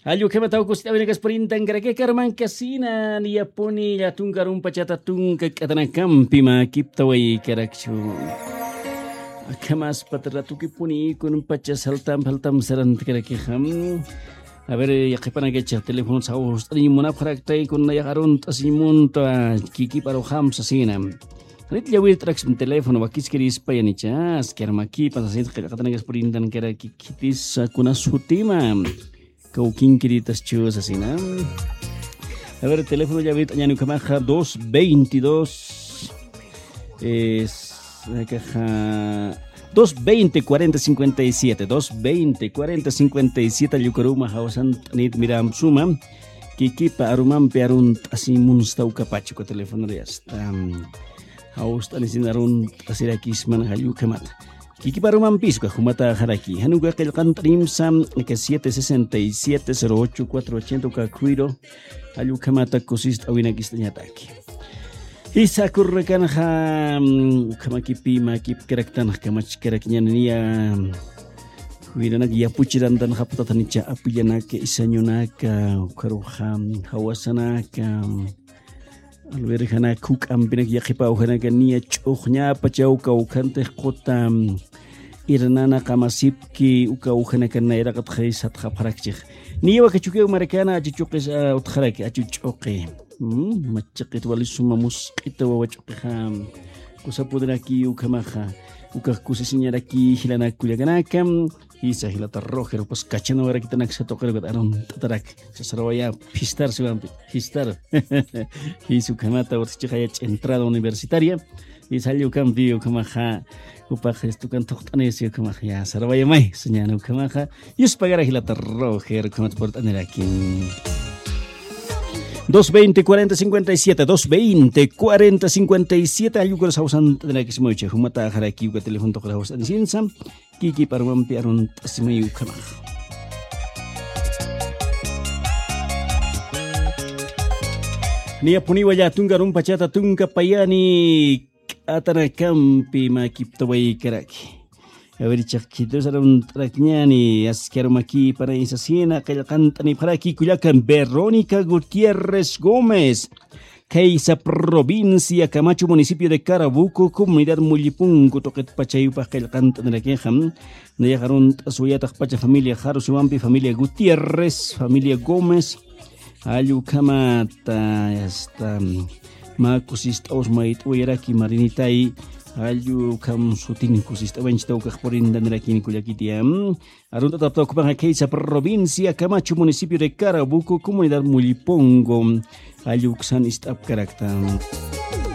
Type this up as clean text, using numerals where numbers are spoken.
Ayu kema tau kusita wina kasprintan karake karman kasina niyapuni llatunka rumpachata tunka k'atana kampi makiptaway karakchu. Akamas patratukipuni kun pacha saltam faltam sarant karake ham. A ver, yaqipana kecha teléfono saus tanimunapqaraktay kun yaqarun tasimunta kiki paro ham sasina. Rit llawir trax teléfono wakiskiris payanichas kermaki pasasin qillqatana kasprintan karaki kitis kuna sutima. Kaukinkiritas chus así, ¿no? A ver, el teléfono ya ahorita Ñanucamaja 222 es la caja 220 40 57 220 40 57 Yucaruma Hausan Nit Miram Suma Kikipa Arumampe Arun Asimunstau Capacho con teléfono ya está Haustan Arun Asirakisman Hayukamat Kikipa Arumampisco Jumata Jaraki Hanuka Qillqantrimsa que 767 08 480 Kakuiro Hayukamata Kusist Awinakistañataki Isa kurrekanja ukamakipi makip karaktan kamach karakñanania huiranak yapuchirantan haptatanicha apuyanaka isañunaka ukaruja hawasanaka alberjanak huk'ampinak yaqipa ujanaka nia ch'uqñapa chawka ukantej quta irnana qamasipki uka ujanaka nayraqat qhaysat qhapharakchij niwa kachukiw marakana achuchuqis utqharaki achuch'uqi machiqit walisuma musq'ita wawach'uqiqa kusapudraki ukamaja ukaj kusisiñaraki hilanakullakanaka isa hilata Roger pues kachana warakitanak satoqerqat aron tatarak sasrawaya pistar siwampi pistar hisukamata urtichiqaya entrada universitaria y salió cambio ukamaja upaj estukan toqt'anis ukamaja ya sarawayamay señana ukamaja yuspagara hilata Roger ukamat port'aniraki 220 40 57 220 40 57 ayuka sausan tendrá que se muche humata jaraki uka teléfono toca hausan sinsa kiki parwampi arun tasimayu kamaj Nia puniwa ya tunga rumpachata tunga payani atana kampi makiptaway karaki A ver, chaquitos arun trakñani askerumaki para isasina qillqantani paraki Culiacán Verónica Gutiérrez Gómez Keisa provincia Camacho municipio de Carabuco comunidad Mullipunco toquet pachayupaj qillqantani rakijam nayajarun t'asuyataq pacha familia Jarusiwampi familia Gutiérrez familia Gómez Ayukamata esta makusist'aws mayt'uyaraki marinitay ayu kam sutin kusist'awanchita ukaj porindaniraki kullakitiam arunta taptawkupaqa Keisa provincia Camacho municipio de Carabuco comunidad Mullipongo ayuksan ist'apkarakta.